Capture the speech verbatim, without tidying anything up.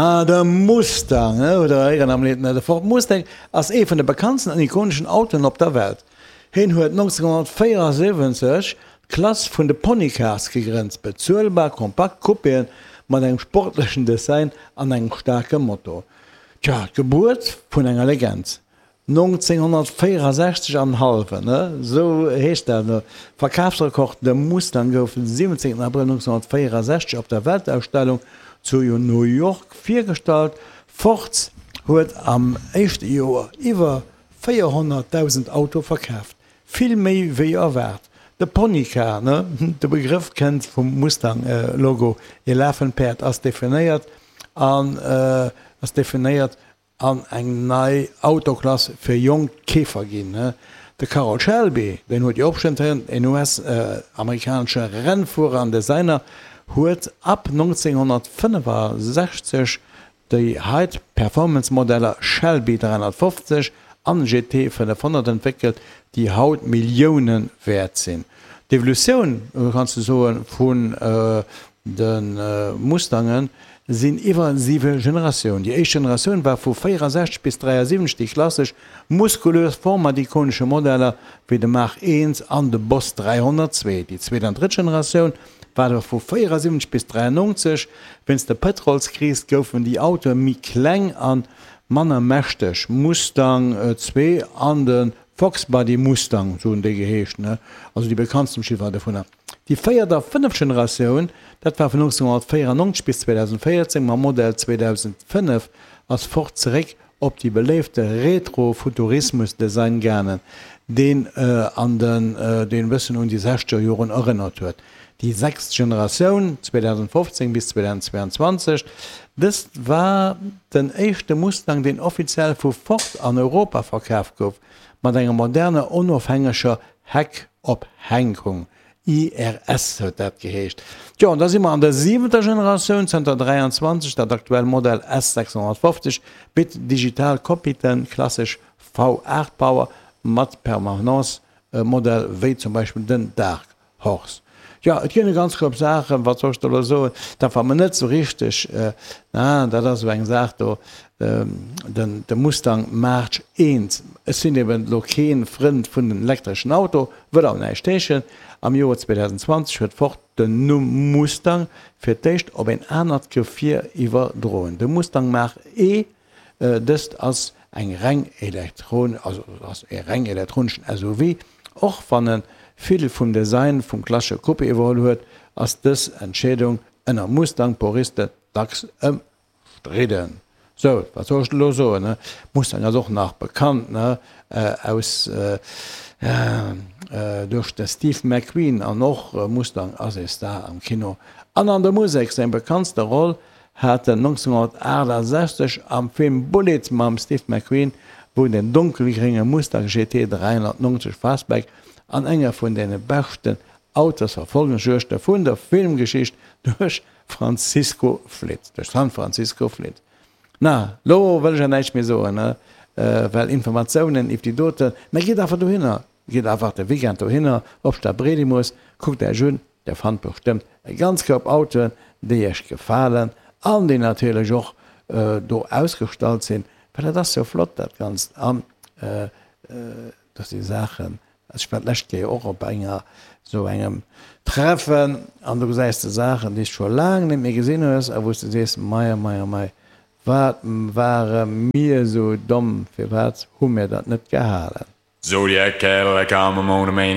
Ah, de Mustang, ne, huet der héieren am Lidd, ne? De Ford Mustang ass ee vun de bekanntsten an ikoneschen Autoen op der Welt. Hien huet nonzénghonnertvéierasiwwenzeg d'Klass vun de Ponycars gegrënnt, bezuelbar kompakt Coupéen mat engem sportlechen Design an engem staarke Motor. Tja, d'Gebuert vun enger Legend. nonzénghonnertvéierasechzeg an hallwen, ne? Esou heescht dat elo. Verkafsrekord, De Mustang gouf den siwwenzéngten Abrëll nonzénghonnertvéierasechzeg op der Weltausstellung zu New York virgestallt. Ford huet am éischte Joer iwwer véierhonnertdausend Autoe verkaaft, vill méi wéi erwaart. De Ponycar, ne? De Begrëff kënnt vum Mustang-Logo, ee lafend Päerd, ass definéiert an ass definéiert an eng nei Autoklass fir jonk Keefer ginn. De Carroll Shelby, deen huet jo och bestëmmt héieren, en U S-amerikanesche Rennfuerer an Designer, huet ab nonzénghonnertfënnefasechzeg déi High-Performance-Modeller Shelby dräihonnertfofzeg an G T fënnefhonnert entwéckelt, déi haut Millioune wäert sinn. D'Evolutioun, kanns de soen, vun de Mustangen sinn iwwer siwe Generatiounen. Déi éischt Generatioun war vu véierasechzeg bis dräiasiwwenzeg déi klassesch muskulös Form mat ikonesche Modeller wéi de Mach eent an de Boss dräihonnertzwee. Déi zweet an drëtt Generatioun war da vu véierasiwwenzeg bis dräiannonzeg. Wéinst der Pëtrolskris goufen déi Autoe méi kleng a manner mächteg, Mustang zwee an de Fox Body Mustang, sou hunn déi geheescht, ne? Also déi bekanntsten Chiffre dovunner. Déi véiert a fënneft Generatioun, dat war vun nonzénghonnertvéierannonzeg bis zweedausendvéierzéng mam Modell zweedausendfënnef, ass Ford zeréck op déi beléifte Retro-Futurismus-Design gaangen, deen an den deen e bëssen un déi sechzeger Joren erënnert huet. Déi sechst Generatioun, zweedausendfofzéng bis zweedausendzweianzwanzeg, dëst war den éischte Mustang, deen offiziell vu Ford an Europa verkaf gouf, mat enger moderner onofhängeger Heckophänkung, I R S huet dat geheescht. Tjo, an da si mer an der siwenter Generatioun, zënter dräianzwanzeg, dat aktuell Modell S sechshonnertfofzeg bitt digital Cockpiten, klassesch V aacht Power mat Permanence Modell wéi zum Beispill den Dark Horse. Jo, et ginn e ganz Koup Saachen, wat soll ech der elo soen, dat war mer net esou richteg, na, dat ass esou eng Saach do, den de Mustang March eent. Ech sinn eben elo kee Frënd vun den elektreschen Auto, wëll awer näischt heeschen. Am Joer zweedausendenzwanzeg huet Ford den Numm Mustang fir d'éischt op een anert Gefier iwwerdroen, de Mustang Mach-E. Dëst ass eng reng elektron, also ass e reng elektroneschen S U V. Och wann e vill vum Design vum klassesche Coupé iwwerholl huet, ass dës Entscheedung ënner Mustang-Puristen dacks ëmstridden. Sou, wat soll ech elo soen, ne? Mustang ass och nach bekannt, ne, aus duerch de Steve McQueen an och Mustang ass ee Star am Kino an an der Musek. Seng bekanntste Roll hat en nonzénghonnertaachtasechzeg am Film Bullitt mam Steve McQueen, wou en den donkelgrénge Mustang G T dräihonnertnonzeg Fastback an enger vun de beschten Autosverfolgungsjuegte vun der Filmgeschicht duerch Francisco flitt, duerch San Francisco flitt. Na, lo wëll ech ja näischt méi soen, ne, well Informatiounen iwwer déi doten, mä gitt einfach dohinner, gitt einfach de Weekend dohinner op Stadbredimus, kuckt Iech un, Dir fannt bestëmmt e ganz Koup Autoen, déi Iech gefalen an déi natierlech och do ausgestallt sinn, well dat ass jo flott dat Ganzt an do si Saachen. Ech war d'lescht Kéier och op enger esou engem Treffen an do gesäis de Saachen, déi s de scho laang net méi gesinn hues a wou s de sees, Mei, mei, mei, wat ware mir esou domm, firwat hu mir dat net gehalen? Zodiac, Cadillac, I'm a monomaniac.